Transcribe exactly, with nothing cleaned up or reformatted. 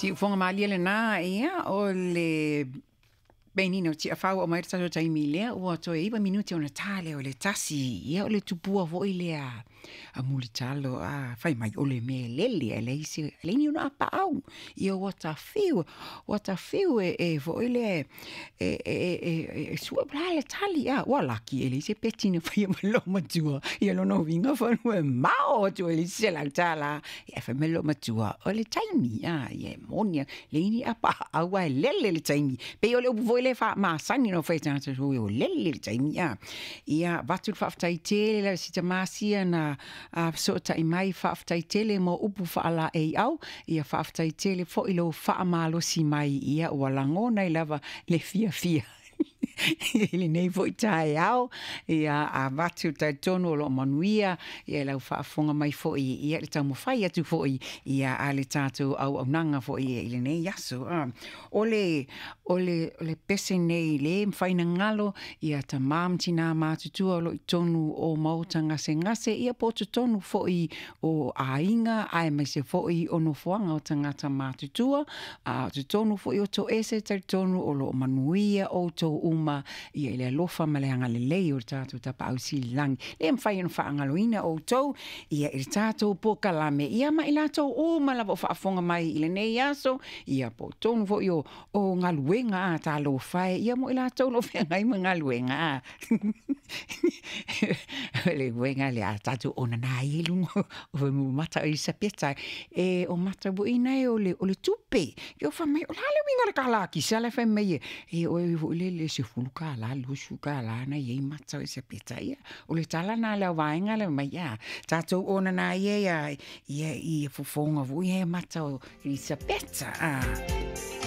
Siufoga malie lena ia o le penina o Tiafau o mai le tatou taimi lea ua toe iva minuti ona tā lea o le tasi. Ia o le tupua foi lea a Mulitalo a fai mai o le mea lele e leai se leai ni ona apaau. Ia ua tafiu ua tafiu e e foi lea e e e e sua po o le a le tali a ua laki e leai se peti na faia ma le loomatua. Ia lona uiga falua e mao atu e leai se selau tālā. Ia fai mai le loomatua o le taimi a ia e moni lava leai ni apaau ae lele le taimi. Pei o le upu foi lea faamasani ona fai e tagata o lele le taimi a. Ia avatu le faafetai tele lava i si tamā sia na fesootai mai faafetai tele mo upu faalaeiau. Ia faafetai tele foi lou faamalosi mai ia ua lagona ai lava le fiafia i lenei foi taeao. Ia avatu talitonu o loo manuia ia lau faafofoga mai foi ia le taumafai atu foi ia a le tatou auaunaga foi i lenei aso. O le o le o le pese nei lē mafai ona galo ia tamā ma tinā matutua o loo i totonu o maota gasegase ia po o totonu foi o aiga aemaise foi o nofoaga o tagata matutua a o totonu foi o toese. Talitonu o loo manuia outou uma ia i le alofa ma le agalelei o le tatou Tapaau Sili i le Lagi. Le mafai ona faagaloina outou ia i le tatou polokalame ia ma i latou uma lava o faafofoga mai i lenei aso ia po o totonu foi o o galuega a talofa e ia mo i latou o loo feagai ma galuega a o le uiga lea a tatou onana ia i luga o mata o Elisapeta e o matauina e o le o le tupe. Ia fai mai o le a le uiga o le kālā kisa la e fai mai e oe foi lele sefulu kālā luasefulu kālā na i ai mata o Elisapeta. Ia o le tala lena a le auvaega lea mai a tatou onana ia ia ia i fofoga foi ia mata o Elisapeta a.